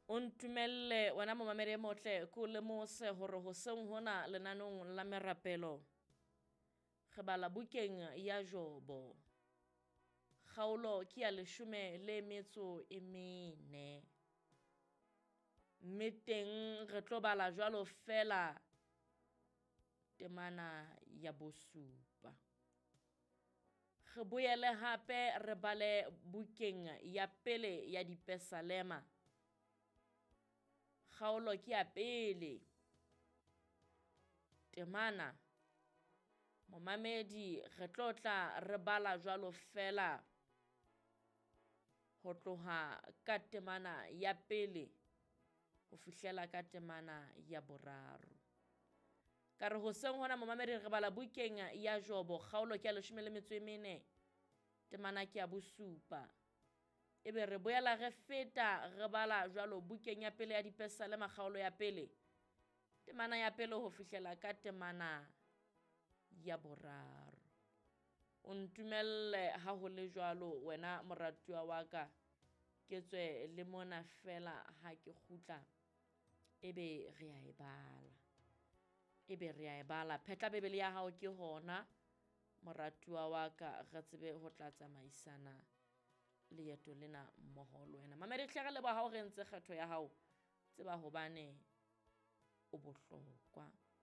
O ntumelle wena momamedi e motle ke o lemose hore hoseng hona lenanong la merapelo re bala bukeng ya Jobo. Kgaolo ke ya 14. Mme teng re tlo bala jwalo fela temana ya 7. Re boele hape re bale bukeng ya pele ya Dipesalema. Kgaolo ke ya 1. Temana momamedi re tlo tla re bala jwalo fela ho tloha ka temana ya 1 ho fihlela ka temana ya 3. Ka re hoseng hona momamedi re bala bukeng ya Jobo kgaolo ke ya 14 temana ke ya 7. Ebe re boela re feta re bala jwalo bukeng ya pele ya Dipesalema kgaolo ya 1 temana ya 1 ho fihlela ka temana ya 3. O ntumelle ha ho le jwalo wena moratuwa wa ka, ke tswe le mona fela ha ke kgutla ebe re a e bala. Ebe re a e bala. Phetla Bibele ya hao ke hona moratuwa wa ka, re tsebe ho tla tsamaisana leeto lena mmoho le wena. Mamedi hle re leboha ha o re entse kgetho ya hao, tseba hobane o bohlokwa.